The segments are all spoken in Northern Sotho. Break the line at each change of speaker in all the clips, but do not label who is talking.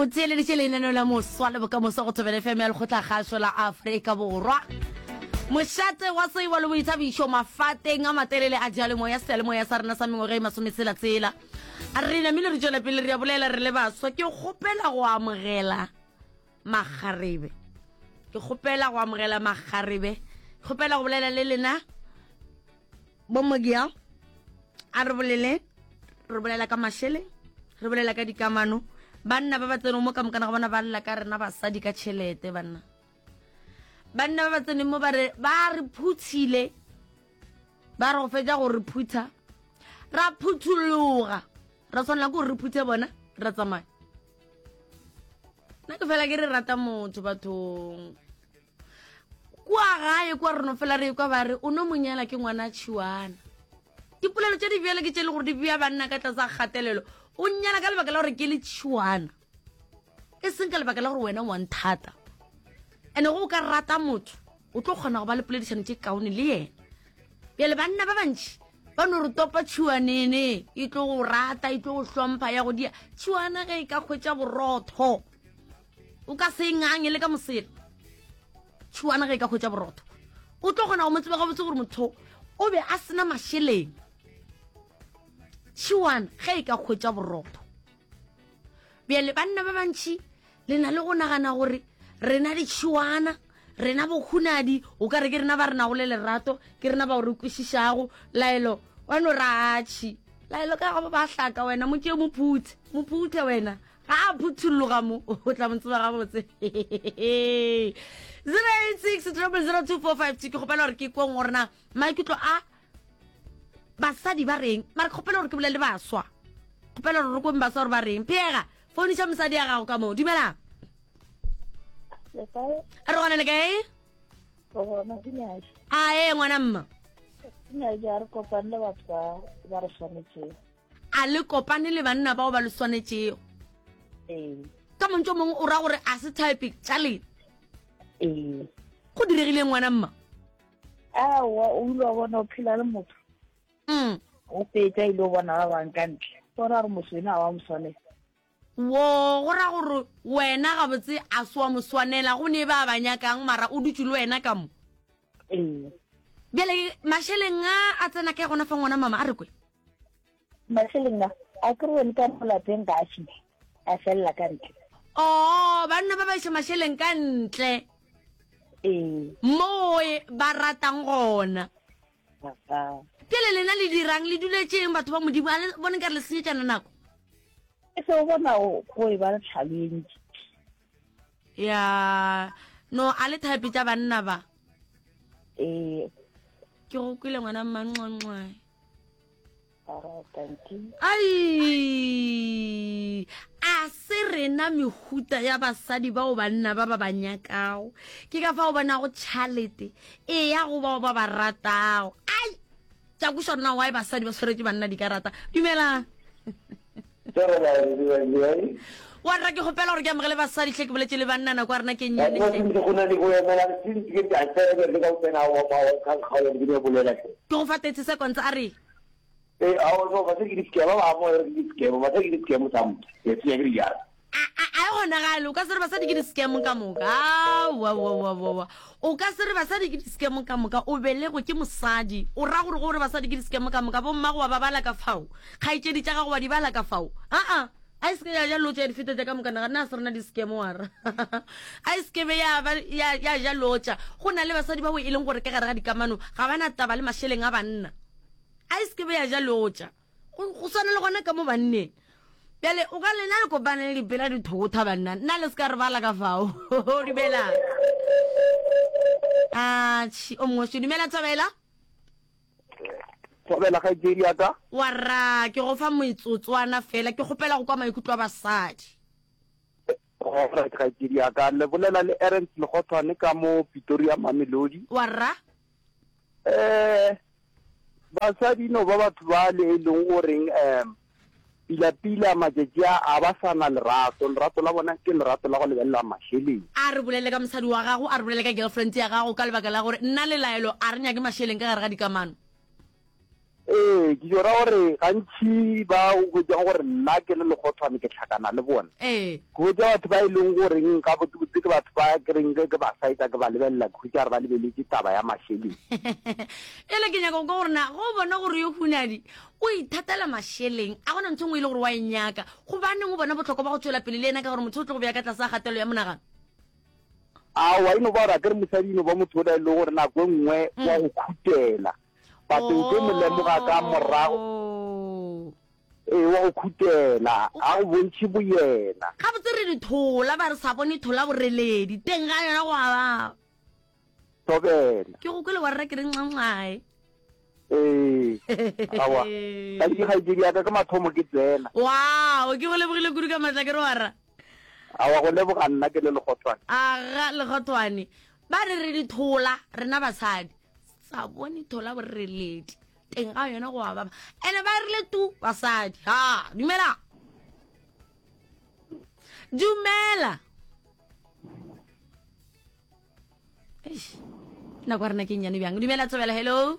O theeleditše lenaneo la moswa le bokamoso go Thobela FM ya Lekgotlakgašo la Afrika Borwa. Mošate wa tsebo le boithabišo mafateng a matelele a diyalemoya seyalemoya sa rena sa mengwaga e masometshela-tshela. Re namile re tšwela pele re a bolela re le baswa. Ke kgopela go amogela makgarebe. Ke kgopela go amogela makgarebe. Ke kgopela go bolela le lena Bomogia a re bolele re bolela ka mašeleng re bolela ka dikamano banna ba ba tseneng mo ka mokana ga bona ba lla ka rena basadi ka tšhelete banna banna ba ba tseneng mo ba re ba re phuthile ba re go fetša go re phutha ra phuthologa ra tshwanela ke gore re phuthe bona ra tsamaya nna ke fela ke re rata motho bathong kua gae kua re no fela re kwa ba re o no monyala ke ngwana tšhiwana dipolelo tše di bjale ke tše e le gore di bea banna ka tlase ga kgatelelo o nnyala ka lebaka la gore ke le tšhiwana e seng ka lebaka la gore wena wa nthata ene go o ka rata motho o tlo kgona go ba le poledišano tše kaone le yena bjale banna ba bantši ba no re topa tšhiwanene e tlo go rata e tlo go hlompha ya go dia tšhiwana ge e ka kgwetša borotho o ka se ngange le ka mosela tšhuana ge e ka hwetša borotho o tlo kgona go mo tseba gabotse gore motho o be a sena mašeleng tšhiwana ge e ka hwetša borotho bjale banna ba bantšhi le na le go nagana gore rena ditšhiwana rena bokhunadi o ka re ke rena ba re nago le lerato ke rena ba o re kwešišago laelo wa no ratšhi laelo ka gabo ba hlaka wena mo tšee mophuthe mophuthe wena ga a phuthuloga mo o tla mo tseba gabotse 086 0002452 ke kgopela gore ke kweng gore na maikutlo a basadi ba reng mara ke kgopela gore ke bolele baswa kgopela gore re kweng baswa gore ba reng pheega founiša mosadi ya gago ka moo dumelang re gona le kae a ee ngwana mma A le kopane le banna bao ba le swanetšego?
Ee.
Ka montši o mongwe o ra gore a se type tša lena?
Ee.
Go diregile ngwana mma?
Aowa, o ile wa bona o phela le motho.
Mm.
O fetša ile o bona ba bang ka ntle. Bona gore motho ena wa mo swanela.
Wo, go ra gore wena gabotse a se wa mo swanela, go ne ba ba nyakang mara o dutše le wena ka mo.
Ee.
Bjale mašeleng a a tsena kae gona fa ngwana mama a re kwe?
Mašeleng a, a ke re wene ka mo lapeng ga a fihle, a felela ka ntle.
Oo, banna ba ba iša mašeleng ka ntle.
Ee.
Moo ba ratang gona. Bjale lena le dirang, le duletšeng batho ba Modimo, a le bone nkare le senyetšana nako?
E se o bona go e ba le tlhalo e ntši.
Ya, no a le type tša banna ba.
Ee.
Ke go kwele ngwana mmanqwanqwae.
Alright, thank you.
Ai, a se rena mehuta ya basadi bao banna ba ba ba nyakago. Ke ka fao bonago tšhalete e ya go bao ba ba ratago. Ai, tša kweša rena why basadi ba swaretše banna dikarata. Dumelang. Wa rra ke kgopela gore ke amogele basadi hle ke boletše le banna nako ya rena ke nnyane hle. Ke go fa 30 seconds a re. A a e kgonagale o ka se re basadi ke di-scam ka moka aowaowaowa o ka se re basadi ke di-scam ka moka o belegwe ke mosadi o ra gore gore basadi ke di-scam ka moka bommago wa ba bala ka fao kgaetšedi tša gago wa di bala ka fao aa a e seke ya ja lotša ya di feta tša ka moka naga nna a se rena di-scam wara a e seke be ya ba ya ya ja lotša go na le basadi bao e leng gore ka gare ga dikamano ga ba na taba le mašeleng a banna a e seke be ya ja lotša go swana le gona ka mo banneng bjale o ka lena le kopane le dipela dithotha banna nna le se ka re bala ka fao dumela atšhi o mongwe dumela thobela
thobela kgaetšedi ya ka
wa ra ke go fa metsotswana fela ke kgopela go kwa maikutlo a basadi
Alright kgaetšedi ya ka le bolela le Ernst Lekgothwane ka mo Pretoria Mamelodi
wa rra
eh Basadi no ba batho ba le e leng goreng um pila-pila matšatši a a ba sa na lerato, lerato la bona ke lerato la go lebelela mašeleng.
A re bolele ka mosadi wa gago, a re bolele ka girlfriend ya gago ka lebaka la gore nna le Laelo a re nyake mašeleng ka gare ga dikamano.
Ee, ke tšo ra gore gantši ba o hwetšang gore nna ke le lekgothwane ke hlakana le bona.
Ee.
Ke hwetša batho ba e leng goreng gabotsebotse ke batho ba ke reng ge ke ba saetsa ke ba lebelela ke hwetša gore ba lebeletše taba ya mašeleng.
Bjale ke nyaka go kwa gore na ge o bona gore yo Hunadi o ithatela mašeleng, a gona ntho e nngwe e le gore wa e nyaka, gobaneng o bona bohlokwa ba go tšwela pele le yena ka gore motho o tlo go bea ka tlase ga kgatelelo ya monagano?
Aowa, e no ba gore akere mosadi e no ba motho ola e le gore nako e nngwe wa go khutela. But o tlo mo lemoga ka morago. Ee, wa go khutela, ga go bontšhe boyena.
Gabotse re dithola, ba re sa bone thola boreledi, teng ga yona go a baba.
Thobela.
Ke go kwele wa rra ke re nxanxae.
Ee, aowa. Ka ke kgaetšedi ya ka ke mathomo ke tsena.
Wow, ke go lebogile kudu ka matla ke re wa rra.
Aowa, go leboga nna ke le Lekgothwane.
Aga, Lekgothwane. Ba re re dithola, rena basadi. Sa bone thola boreledi teng ga yona go a baba. Ene ba rile tu basadi. Ha, dumela. Dumela. Eish. Nako ya rena ke nnyane bjang. Dumela Thobela, hello.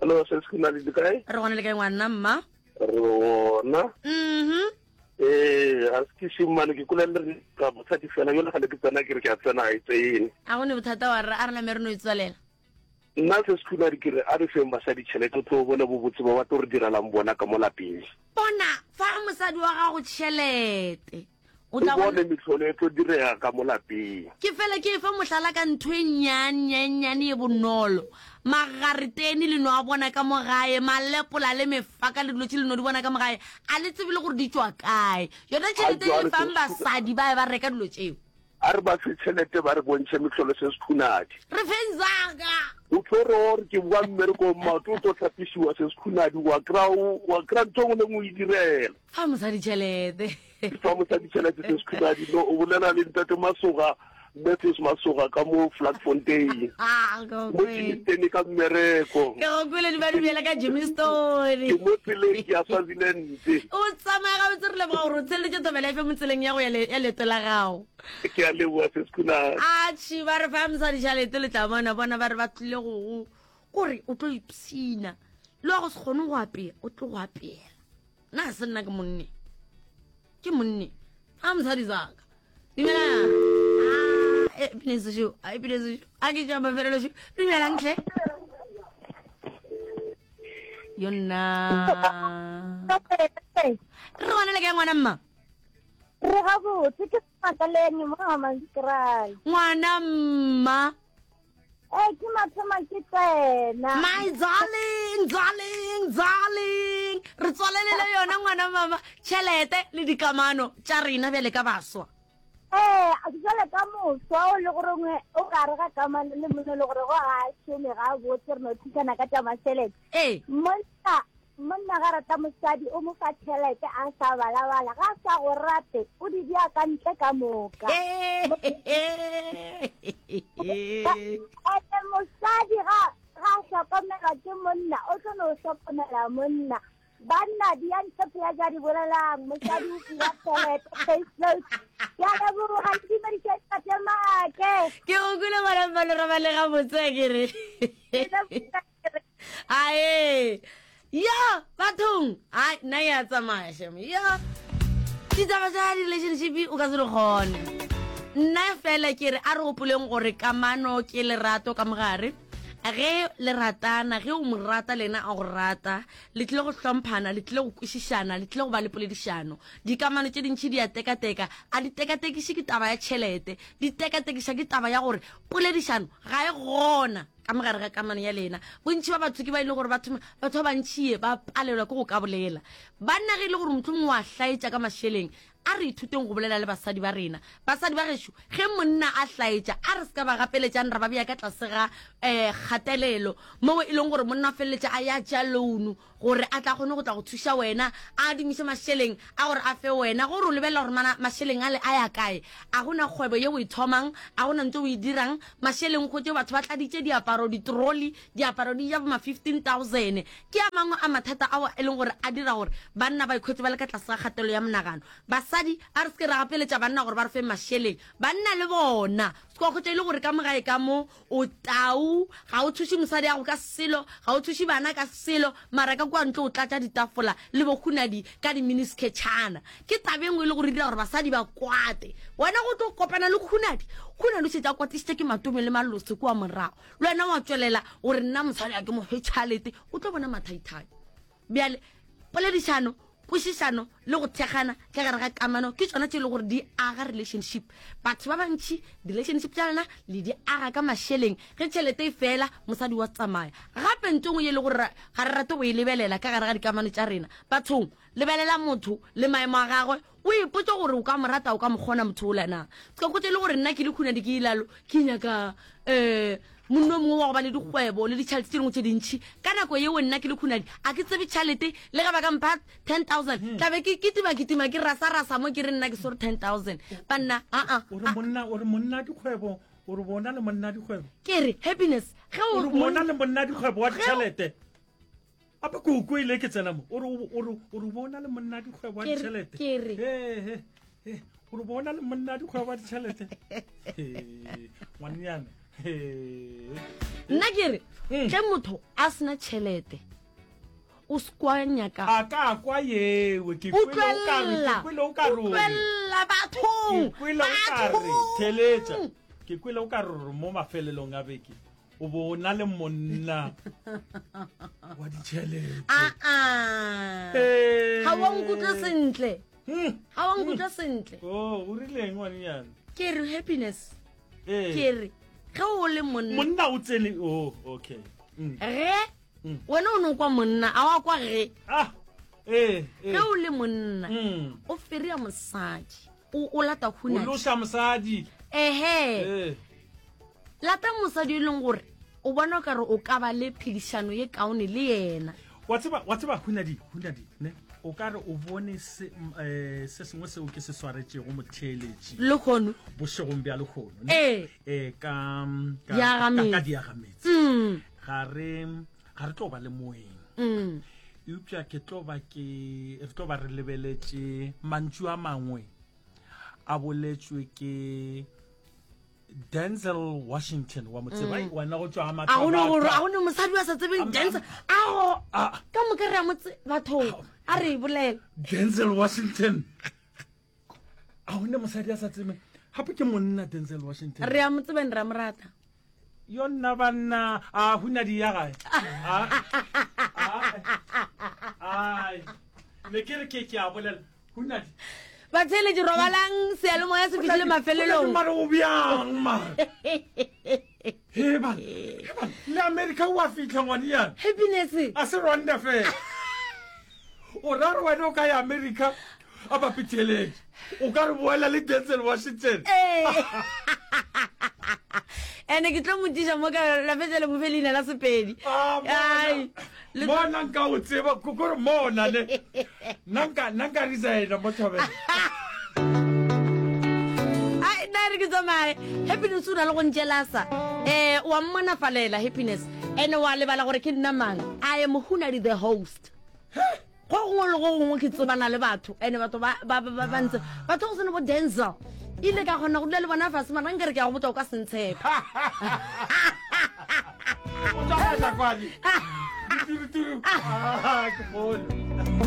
Hello, sis ke na le kae?
Re gona le kae ngwana mma?
Re gona.
Mhm.
Ee, ga se ke šimane ke kula le ka mosadi fela yone ga le ke tsena ke re ke a tsena ga e tsene.
A go ne bothata wa rra a re name re no e tswalela.
Nna se se khuna ke re a re feng basadi tšhelete o tlo bona bobotse ba ba tlo re direlang bona ka mo lapeng.
Bona fa mosadi wa gago tšhelete.
O tla bone mehlolo e tlo direga ka mo lapeng.
Ke fela ke efa mohlala ka ntho e nnyane e bonolo. Magareteni le no a bona ka mo gae, malepola le mefaka le dilo tše le no di bona ka mo gae, a le tsebe le gore di tšwa kae. Yona tšhelete e le fang basadi ba ba reka dilo tšeo.
A re ba fe tšhelete ba re bontšhe mehlolo se sekhunadi.
Re feng zaka.
O tlo re o re ke boa mmerekong maoto o tlo hlapišiwa se sekhunadi wa kry-a wa kry-a ntho e nngwe le nngwe o e direla.
Fa mosadi tšhelete.
Fa mosadi tšhelete se sekhunadi no o bolela le ntate Masoga Matthews Masoga ka mo Vlakfontein.
Ah, go
Mo Germiston ka mmereko.
Ke go kwele di ba dumela ka Germiston.
Ke mo tseleng ke ya Swaziland.
O tsamaya gabotse re leboga gore o tsheleditše Thobela FM tseleng ya go ya ya leeto la gago.
Ke a leboga se sekhunadi.
Atšhi ba re fa mosadi tšhelete le tla bona bona ba re ba tlile go go kore o tlo ipshina le wa go se kgone go apea o tlo go apeela. Nna ga se nna ke monne. Ke monne. A mosadi zaka. Dumela. Ah, e pine sešo, a e pine sešo. A ke tša mafelelo šo. Dumelang hle. Yo nna. Re gona le kae ngwana mma?
Re gabotse ke Makaleng mo Hammanskraal.
Ngwana mma.
Ee, ke mathoma ke tsena.
My darling, darling, darling. Re tswalelele yona ngwana mama tšhelete le dikamano tša rena bjale ka baswa.
Ee, jale ka moswa o le gore o gare ga kamano le monna le gore go ga a šome ga botse re no thusana ka tša mašelete.
Ee.
Monna monna ga rata mosadi o mo fa tšhelete a sa balabala ga a sa go rate o di bja ka ntle ka moka. Ene mosadi ga ga a hlokomelwa ke monna o tlo no hlokomela monna. Banna di ya ntle phela ja di bolelang mosadi o fiwa tšhelete face note. Ke a leboga le dumediše tate Make.
Ke go kwele ngwana mma le robale gabotse akere. Ae yo bathong ai nna ya tsamaya shem yo ditaba tša di-relationship o ka se di kgone nna fela ke re a re gopoleng gore kamano ke lerato ka mogare ge le ratana ge o mo rata le yena a go rata le tlile go hlomphana le tlile go kwešišana le tlile go ba le poledišano dikamano tše dintšhi di a tekateka a di tekatekiše ke taba ya tšhelete di tekatekiša ke taba ya gore poledišano ga e gona Ka mo gare ga kamano ya lena, bontši ba batho ke ba e le gore batho batho ba bantši ba palelwa ke go ka bolela. Banna ge e le gore mohlomongwe wa hlaetša ka mašeleng, a re ithuteng go bolela le basadi ba rena. Basadi ba gešo, ge monna a hlaetša, a re se ka ba gapeletšang ra ba bea ka tlase ga um kgatelelo moo e leng gore monna o feleletša a ya tšea loan gore a tla kgone go tla go thuša wena, a adimiše mašeleng a gore a fe wena, gore o lebelela gore mana mašeleng ale a ya kae. A go na kgwebo ye o e thomang, a go na ntho o e dirang, mašeleng o hwetše batho ba tladitše diaparo. diaparo ditroli diaparo di ja boma 15000 ke a mangwe a mathata ao e leng gore a dira gore banna ba ikhwetse ba le ka tlase ga kgatelo ya monagano basadi a re se ke ra gapeletša banna gore ba re fe mašeleng banna le bona se kwa kgotsa e le gore ka mogae ka mo O tau, ga o thuše mosadi yago ka selo, ga o thuše bana ka selo, mara ka kua ntle o tlatša ditafola le bohunadi ka diminisketšhana. Ke taba e nngwe e le gore e dira gore basadi ba kwate. Wena go tlo kopana le Khunadi, Khunadi o šetše a kwatišitše ke Matome le Malose kua morago. Le wena wa tšwelela o re nna mosadi ga ke mo fe tšhalete, o tlo bona mathaithai. Bjale, poledišano, kwešišano le go thekgana ka gare ga kamano ke tšona tše e le gore di aga relationship. Batho ba bantši relationship tša lena le di aga ka mašeleng. Ge tšhelete e fela, mosadi wa tsamaya. Gape nto nngwe ye e le gore ga re rate go e lebelela ka gare ga dikamano tša rena, bathong, lebelela motho le maemo a gagwe, O ipotše gore o ka mo rata, o ka mo kgona motho ola na. Se ka hwetša e le gore nna ke le Khunadi ke ilalo, ke nyaka um monna o mongwe wa go ba le dikgwebo le ditšhelete tše dingwe tše dintšhi. Ka nako yeo nna ke le Khunadi a ke tsebe tšhelete, le ge ba ka mpha 10,000 hmm. tla be ke kitima-kitima ke rasa-rasa mo ke re nna ke swere 10,000. Banna, aa.
O re monna, o re monna dikgwebo, o re bona le monna dikgwebo.
Ke re happiness
ge o bona le monna dikgwebo wa ditšhelete. Gape ke o kwele ke tsena mo o re o re o re bona le monna dikgwebo wa ditšhelete
ke re
he he o re bona le monna dikgwebo wa ditšhelete ngwannyana
nna ke re mm. ge motho a sena tšhelete o se kwa nyaka
a ka kwa yewe ke kwele o ka re ke kwele o ka re
utlwelela bathong
ke kwele o ka re theletša ke kwele o ka re mo mafelelong a beke o bo o na le monna wa ditšhelete
aa ga wa nkutlwa sentle hmm. ga wa nkutlwa hmm. sentle
o oh, o rileng ngwanenyana
ke re happiness ke re ge o le monna
monna o tsene oh okay
hmm. ge wena o ne o kwa monna a wa kwa ge
ah eh,
eh. ge o le monna o feria mosadi o lata
o loša mosadi
ehe eh. Lata mosadi e leng gore o bona o kare o ka ba le phedišano ye kaone le yena.
Wa tseba, wa tseba Hunadi, Hunadi, ne? O ka re o bone se, eh, se sengwe seo ke se swaretšego motheeletši.
Lehono.
Bošegong bja lehono. Ne?
Ee.
Eh, ka, ka,
Diagametsi.
ka, ka diagametsi.
Mm.
Ga re, ga re tlo ba le moeng.
Mm.
Eupša ke tlo ba ke, re tlo ba re lebeletše mantšu a mangwe a boletšwe ke Denzel Washington wa mo tseba mm. wena go tšwa
a go no gore a go no mosadi wa sa tsebeng Denzel a go ka moka re a mo bathong a re bolela
Denzel Washington a go ne mosadi a sa tsebeng gape ke monna Denzel Washington
re a mo tsebeng re a mo rata
yo nna banna a huna di ya gae ai ne ke re ke ke a bolela Hunadi.
Batheeletši robalang seyalemoya se fihlile mafelelong.
Mare o bjang mare. He ban. He ban. Le America o a fihla ngwaniana.
Happiness.
A se Rwanda fela. O ra re wena o ka ya America a bapitheletše. O ka re boela le Denzel Washington.
Ee. Ene ke tlo motšiša mo ka la fetša le mo fe leina la Sepedi.
Ah,
Ai.
Le mona nka o tseba kore mona ne nna nka nna nka resigna mo thobela
ai nna re ke tsamaye happiness o na le go ntšelasa um wa mmonafalela happiness ene wa lebala gore ke nna mang i am hunadi the host go gongwe le go gongwe ke tsebana le batho ene batho ba ba ba ba ntse batho go sene bo denzel ile ka kgona go dula le bona fase mara nkere ke ya go botsa o ka se ntshepe
o tsamaya kwale. Dituru turu. Ah, ke bone.